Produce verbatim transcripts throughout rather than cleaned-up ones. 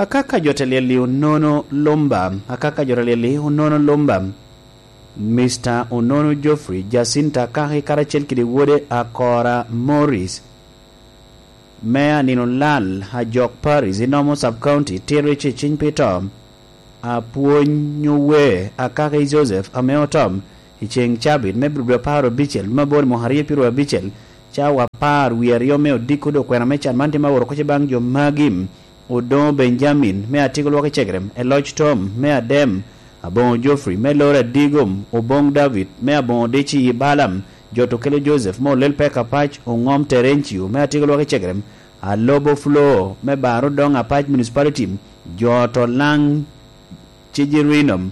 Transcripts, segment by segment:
Akaka jo te lyel-li onono lumba, akaka jo te lyel-li onono lumba. Mister Onono Geoffrey, Jacinta Akaki karacel kede wode Akora Morris, me anino lal Ajok Parish i Nomo Sub County, tito i ceciny pi to. Apwony ower Akaki Joseph ame otom i ceŋ cabit me Abril apar abicel me aboro mwaka aryo pyeraryo abicel, cawa apar wie aryo me odiko dok kwena me can man tye ma oro koc baŋ jo magi: Odoŋo Benjamin me Atiko Lwak i Cegerem, Eloc Tom me Adem, Aboŋo Geoffrey me Loro Adigom, Oboŋ David me Aboŋo Dici i Balam, Joto Kelo Joseph me Olel Pek Apac, Oŋom Terencio me Atiko Lwak i Cegerem, Alobo Flo me Bar Odoŋ Apac Municipality, Joto Laŋ Cejerinom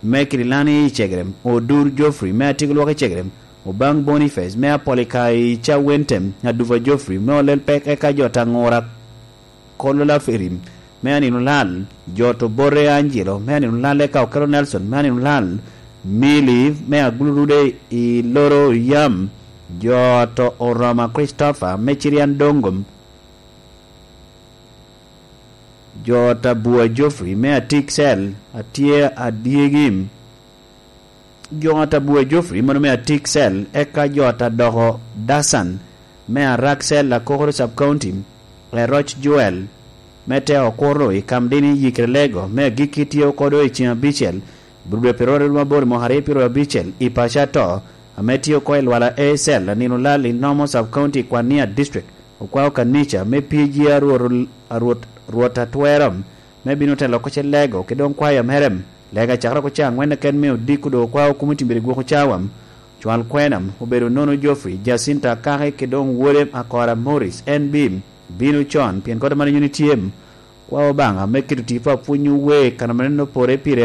me Kirilani i Cegerem, Odur Geoffrey me Atiko Lwak i Cegerem, Obaŋ Boniface me Apolika i Cawentem, Adupa Geoffrey me Olel Pek, eka jo ta Ŋura Kolo Laferim me anino lal, jo to Bote Angelo me anino lal, eka Okelo Nelson me anino lal, Mili me Agulurude i Loro Yam, jo to Oroma Christopher me Cirian Dongom, jo ta Bua Geoffrey me Atik Cell, atye adyegi, jo ta Bua Geoffrey mano me Atik Cell, eka jo ta Doko Dasan me Arak Cell, Akokoro Sub County, Eroc Joel me Te Okuro i Kamdini, Yikere Lego me Agikki tye oko do i ceŋ abicel, Budwe Peroro Mabor mwaka aryo pyeraryo abicel i paco ato, ame tye oko i Lwala A Cell, anino lal i Nomo Sub County, Kwania District. Okwao kanica me P G a Rwot, a Rwot, Rwot Atwero, me bino telo koc i Lego, ki doŋ kwaya mere. Lega cakere oko ca aŋwen keken me odiko doŋ okwao kumo timbiri gwoko cawa. Cwal kwena obedo Onono Geoffrey, Jacinta Akaki, ki doŋ wode Akora Morris. En bi bino con, pien kodi mano nyoni tye. Kwao Obaŋa me keto tipo apwony ower, kan ame neno pore pire